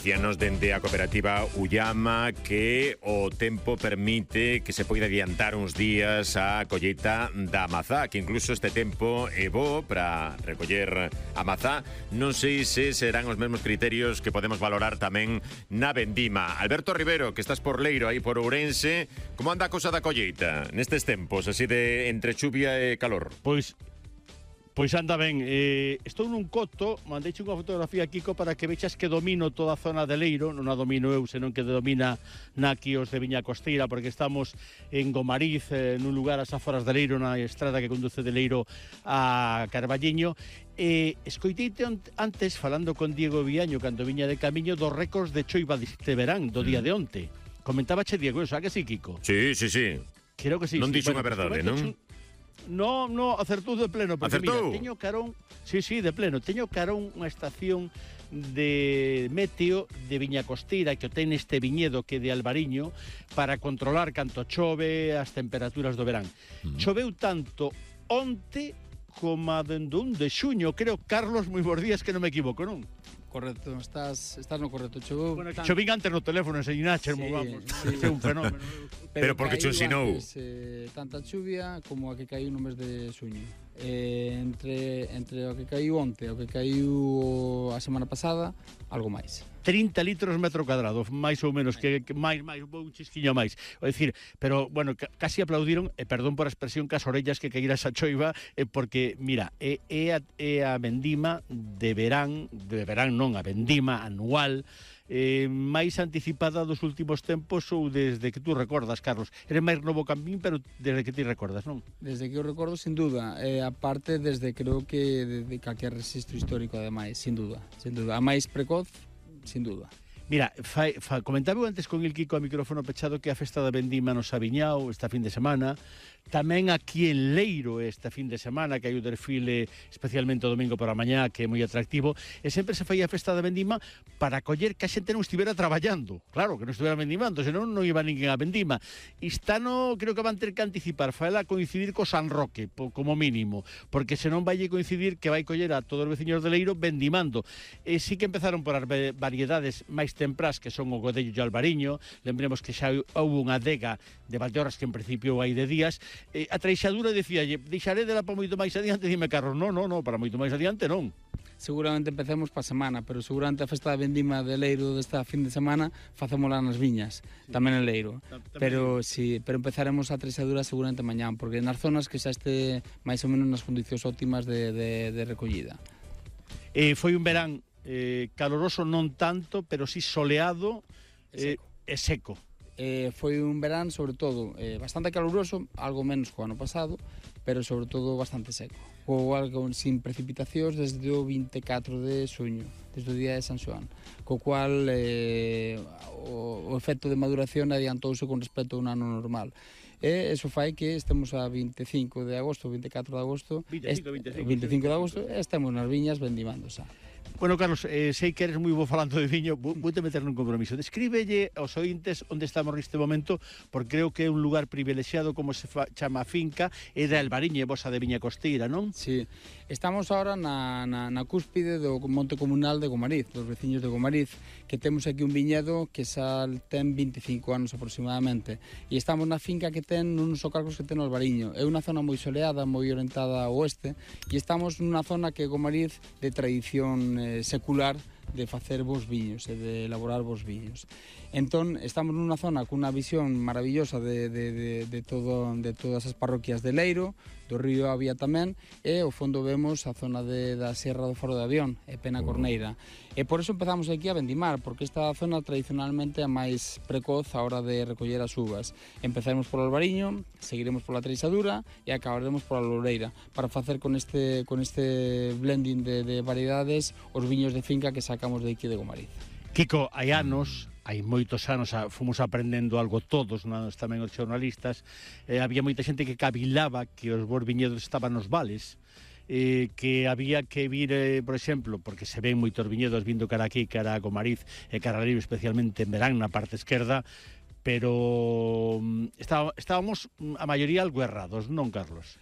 Dicíanos dende a cooperativa Ullama que o tempo permite que se poida adiantar uns días a colleita da mazá, que incluso este tempo é bo para recoller a mazá. Non sei se serán os mesmos criterios que podemos valorar tamén na vendima. Alberto Rivero, que estás por Leiro, aí por Ourense, como anda a cousa da colleita nestes tempos, así de entre chuvia e calor? Pois anda ben, estou nun coto, mandeiche unha fotografía, Kiko, para que vexas que domino toda a zona de Leiro, non a domino eu, senón que domina Naquios de Viña Costeira, porque estamos en Gomariz, nun lugar ás aforas de Leiro, na estrada que conduce de Leiro a Carballiño, e escoiteite antes, falando con Diego Viaño, cando viña de camiño, dos récords de choiva deste verán, do día de onte. Comentábache Diego, eso, a que sí, Kiko? Sí. Creo que sí. Non dixo bueno, unha verdade, non? No, acertou de pleno, porque acertou? Mira, teño carón, sí, de pleno, teño carón unha estación de meteo de Viña Costeira que o ten este viñedo que é de Albariño para controlar canto chove, as temperaturas do verán. Choveu tanto onte como dende 1 de xuño, creo, Carlos, moi bons días, que non me equivoco, non? Correcto, estás no correcto. Bueno, chovín antes no teléfono, enseñache, vamos, é un fenómeno. Pero porque cho ensinou. Tanta chuvia como a que caiu no mes de xuño. Entre o que caiu onte e o que caiu a semana pasada, algo máis. 30 litros metro cuadrado, máis ou menos, que máis, un chisquiño máis. O decir, pero, bueno, casi aplaudiron, e perdón por a expresión, que as orellas que caíra esa choiva, porque, mira, é a vendima de verán non, a vendima anual, máis anticipada dos últimos tempos ou desde que tú recordas, Carlos? Eres máis novo campín, pero desde que ti recordas, non? Desde que eu recordo, sin duda. Aparte, desde creo que de calquer registro histórico, ademais, sin duda. A máis precoz, sin duda. Mira, comentaba antes con el Kiko a micrófono pechado que a festa da vendima no Sabiñao esta fin de semana, tamén aquí en Leiro esta fin de semana, que hai o desfile especialmente o domingo por a mañá, que é moi atractivo, e sempre se fai a festa da vendima para coller que a xente non estivera traballando. Claro, que non estivera vendimando, senón non iba ninguén a vendima. Esta no, creo que van ter que anticipar, faela coincidir co San Roque, como mínimo, porque senón vai coincidir que vai coller a todos os veciños de Leiro vendimando. E sí que empezaron por as variedades máis temprás, que son o Godello e o Albariño. Lembremos que xa houve unha adega de Valdeorras que en principio hai de días. A treixadura decíalle, deixaré dela para moito máis adiante, dime, Carlos, no, para moito máis adiante non. Seguramente empecemos pa semana, pero seguramente a festa da vendima de Leiro desta fin de semana facémola nas viñas, tamén en Leiro. Pero empezaremos a treixadura seguramente mañán, porque nas zonas que xa este máis ou menos nas condicións óptimas de recollida. Foi un verán caloroso non tanto, pero sí soleado e seco. Foi un verán, sobre todo, bastante caluroso, algo menos co ano pasado, pero sobre todo bastante seco. Co algo sin precipitacións desde o 24 de xuño, desde o día de San Xoán, co cual o efecto de maduración adiantouse con respecto a un ano normal. E iso fai que estemos a 25 de agosto, 24 de agosto, 25 de agosto, e estemos nas viñas vendimando xa. Bueno, Carlos, sei que eres moi bo falando de viño, vou-te meter nun compromiso. Descríbelle aos ointes onde estamos neste momento, porque creo que é un lugar privilexiado, como se chama a finca, é de Albariño e vosa de Viña Costeira, non? Sí, estamos agora na cúspide do Monte Comunal de Gomariz, dos veciños de Gomariz, que temos aquí un viñedo que xa ten 25 anos aproximadamente, e estamos na finca que ten uns socargos que ten o Albariño. É unha zona moi soleada, moi orientada ao oeste, e estamos nunha zona que é Gomariz de tradición secular de facer bons viños e de elaborar bons viños. Entón, estamos nunha zona cunha visión maravillosa de todas as parroquias de Leiro, do río Avia tamén, e ao fondo vemos a zona da Serra do Faro de Avión e Pena Corneira. E por eso empezamos aquí a vendimar, porque esta zona tradicionalmente é máis precoz a hora de recoller as uvas. Empezaremos polo Albariño, seguiremos pola Treixadura e acabaremos pola Loureira, para facer con este blending de variedades os viños de finca que sacamos de aquí de Gomariz. Kiko, hai moitos anos, fomos aprendendo algo todos, nós tamén os xornalistas, había moita xente que cavilaba que os bons viñedos estaban nos vales, que había que vir, por exemplo, porque se ven moitos viñedos vindo cara aquí, cara a Gomariz e cara a Leiro, especialmente en verán na parte esquerda, pero estábamos a maioría algo errados, non, Carlos?